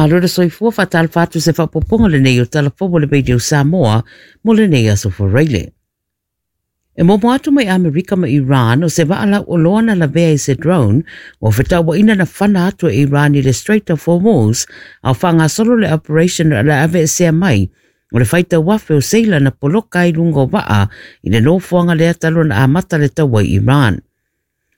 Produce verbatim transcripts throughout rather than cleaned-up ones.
Faamalo le soifua faatalofa atu se faapopoga lenei o Talafou o le Radio Samoa mo lenei aso Faraile. E momo atu mai Amerika ma Iran o se vaa oloa na lavea i se drone o fetauaina na fana atu e Iran i le Strait of Hormuz au whangasolo le operation le ave esea mai o le whaita wafe o seila na poloka i lunga o waa i le nofoanga lea talu na amata le taua i Iran.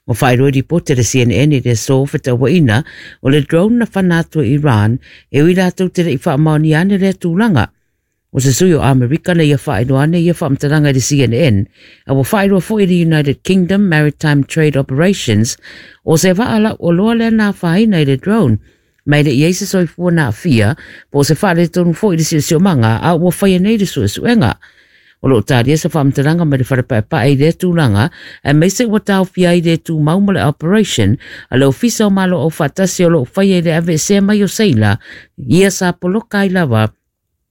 O whairoi ripote le C N N i le so fetauaina o le drone na fana atu e Iran e ui rātou te le i whaamaoni ane lea tūlanga. O se sui o Amerika na ia whaeroa ane ia whaamtaranga i le C N N, a wa whaeroa fo i le United Kingdom Maritime Trade Operations o se vaala o loa lea nā whaina i le drone, mai le iei se soifua nā fia, po o se whaale tonu fo i le siosiomaga a ua whaia nei le suesuenga. O loo tāria sa whaamtaranga mai le wharepaepae i le tūlanga, a meise ua tāwhia i le tū mauma le operation, a le ofisa o malo o whatasi o loo whaia i le ave sea mai o seila, ia sa poloka i lava,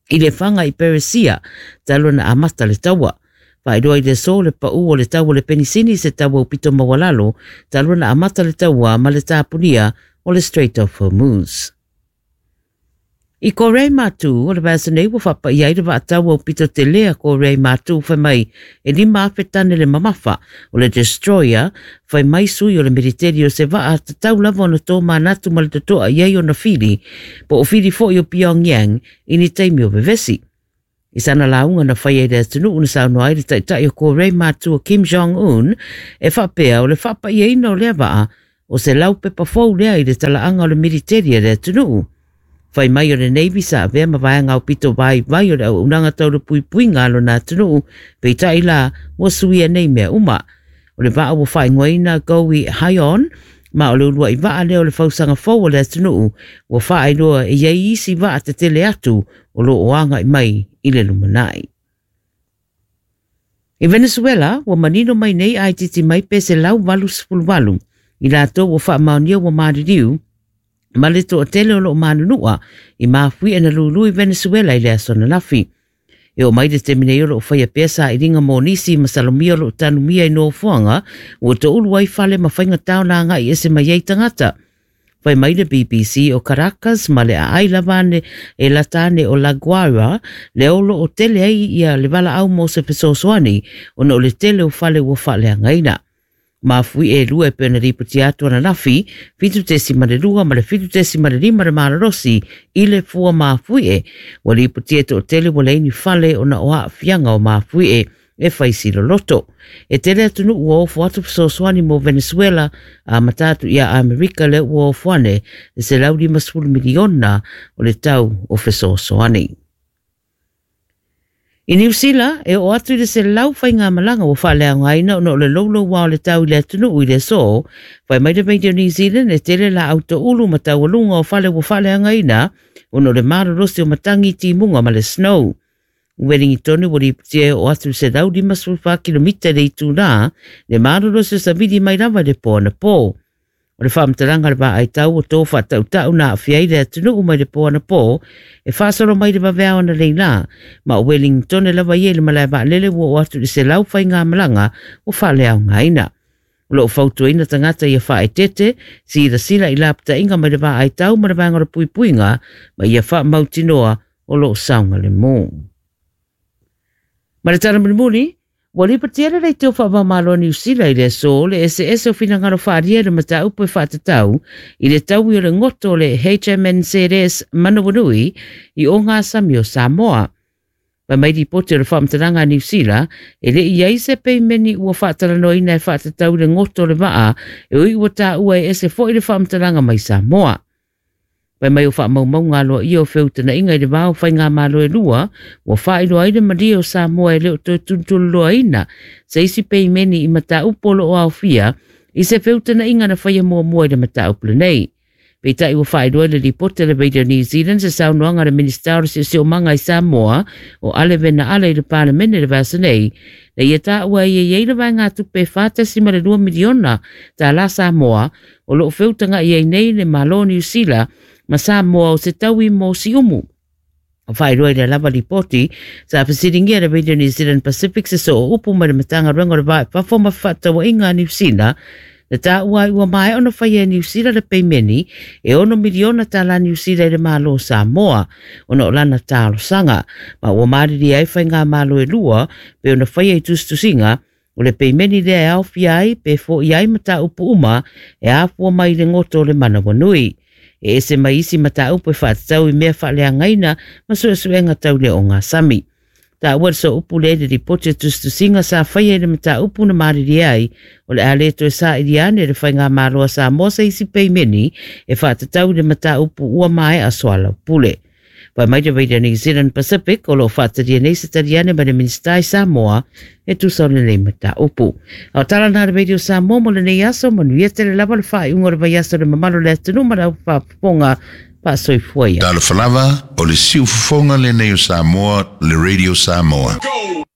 i le whanga i Peresia, talu na amata le taua. Whaeroa i le so le pau o le taua le penisini se taua upito mawalalo, talu na amata le taua ma le tāpunia o le Strait of Hormuz. I Korea Mātū, o le vasa nei ua whapa i aira waataua o pito te lea Korea Mātū whai mai e lima awhetane le mamafa o le Destroyer whai mai sui o le militeri o se waa tatau lava ona tō mānatu ma le totoa i ai ona whiri po o whiri fo i o Pyongyang i ni taimi o vevesi. I sana launga na whai e le atunuu na saunoa ai le taitai o Korea Mātū o Kim Jong-un e whapea o le whapa i aina o lea waa o se laupepa fou lea i le talaanga o le militeri a le atunuu. Whai mai o le Navy sa avea mawaenga o pito vai vai o le au unanga tauro pui pui ngalo nā atunuu, peitai la ua suia nei mea uma. O le vaa ua whaingoina Gowi Hyon, ma o le ulua i vaa leo le fausanga fou o le atunuu, ua whaailoa e iai isi vaa te tele atu o lo oanga i mai i le lumanai. I Venezuela, ua manino mai nei ai titi mai pe se lau walu sefulu walu, i lātou ua whaamaonia ua maririu, ma le to'atele o loo manunua i mafui e na lulu i Venezuela i le aso ananafi. E o mai le taimi nei o loo faia pea sailiga mo nisi ma salomia o loo tanumia i nofoaga ua toulu ai fale ma faigatā ona agai ese mai ai tagata. Fai mai le B B C o Caracas ma le aai lava ane e lata ane o La Guaira le o loo tele ai ia le valaau mo se fesoasoani ona o le tele o fale ua faaleagaina. Mafui e lua e pena ripoti atu ananafi, fitu tesi ma le lua ma le fitu tesi ma le lima le malorosi i le fua mafui e. Ua ripoti e to'atele ua leini fale ona o aafiaga o mafui e e whaisi loloto. E tele atunu ua ofo atu fesoasoani mo Venezuela a matatu ia Amerika le ua ofo ane le selau lima sefulu miliona o le tau o fesoasoani. I New Zealand, e o atu i le se lau whainga malanga o whaaleagaina ona o le lolo wā o le tau i le atunuu i le so, whai mai le Radio New Zealand e tele la auto ulu ma taualunga o whale o whaaleagaina ona o le marorosi o matangi timunga ma le snow. Uweringi tonu ua ripotia e o atu se lau lima sefulu whā kilomita le itū le marorosi o savili mai lava le pō ana pō. O le whaamtaranga le vaai tau o tō whatautau nā awhia i le atunuu mai le pō ana pō, e whaasolo mai le waweao ana leila, ma o Wellington e lava i e le malae vaalele ua o atu i se lau whai ngā malanga o whaaleaogaina. O loo fautuaina tagata ia whaetete, sila sila i lapatainga mai le vaai tau ma le vaenga o le puipuiga, ma ia whaamautinoa o loo saoga le mō. Ma le tala mulimuli, ua lipatia le leiteo whaamamalo a New Zealand i le aso le ese ese o whinangaro whaaria le mataupu e whaatatau i le taui o le ngoto o le H M N Z S Manawanui i o ngā sami o Samoa. Mai mai ripote o le whaamtaranga a New Zealand e le i ai se peimeni ua whaatalanoina e whaatatau i le ngoto o le maa e ui ua tāua e ese fo i le whaamtaranga mai Samoa. Pai mai o whaamaumau loa ia o feutana inga i le vao whai ngā malo e lua, ua whaailoa ai le maria o Samoa e leo toe tuntululoa ina, se isi peimeni i mataupu o loo aofia, i se feutana inga na whaia muamua i le mataupu lenei. Peitai ua whaailoa i le ripote le Radio New Zealand se saunoaga le Minista o le Siosiomaga i Samoa o Ale Vena Ale i le Palemene le vasa nei, na ia tāua i e le vaenga tupe whātasi ma le lua miliona tā la Samoa o loo feutanga i ei nei le Malo New Zealand ma Samoa o se taui mo siumu. O whaeroa i le lava ripoti, sa whasiringia le Radio New Zealand Pacific se so o upu mai le matanga renga o le vae whafo ma whaatawa inga New Zealand, Na tāua ai ua maea ona faia e Niu Sila le peimeni e ono miliona tālā Niu Sila i le Malo o Samoa ona o lana talosaga ma ua malilie ai faigamalo e lua pe ona faia i tusitusiga o le peimeni lea e aofia ai pe fo'i ai mataupu uma e afua mai i le goto o le manawanui. E ese mai isi mataupu e faatatau i mea faaleagaina ma suesuega tau le ogasami. Taua le sooupu lea i le lipoti a tusitusiga sa faia i le mataupu na malilie ai o le a lē toe saili ane le faigamalo a Samoa se isi peimeni e faatatau i le mataupu ua maea soalaupule. Fai mai le Radio New Zealand Pacific o loo faatalia nei se taliane ma le Minisita i Samoa e tusa o lenei mataupu. A o tala na le Radio Samoa mo lenei aso, manuia tele lava le faaiuga o le vaiaso i le mamalu o le atunuu ma le aufaafofoga faasoifua ia. Talofa lava, o le siufofoga lenei o Samoa, le Radio Samoa. Go!